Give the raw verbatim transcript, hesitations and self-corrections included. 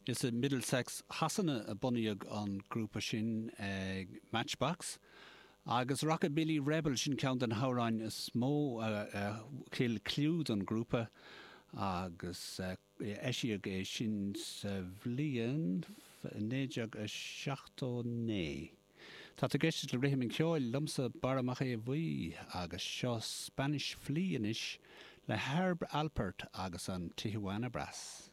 Is i Middlesex Shasana a bunaíodh an grúpa sin ag Matchbox. Agus Rockabilly Rebel sin ceann de na hamhráin is mó a thuill clú don grúpa agus eisíodh é sin sa bhliain naoi déag a seachtó naoi. Tá tú ag éisteacht le Rithim an Cheoil liomsa Barra Mac Aodha Bhuí agus seo Spanish Flea anois le Herb Alpert agus an Tijuana Brass.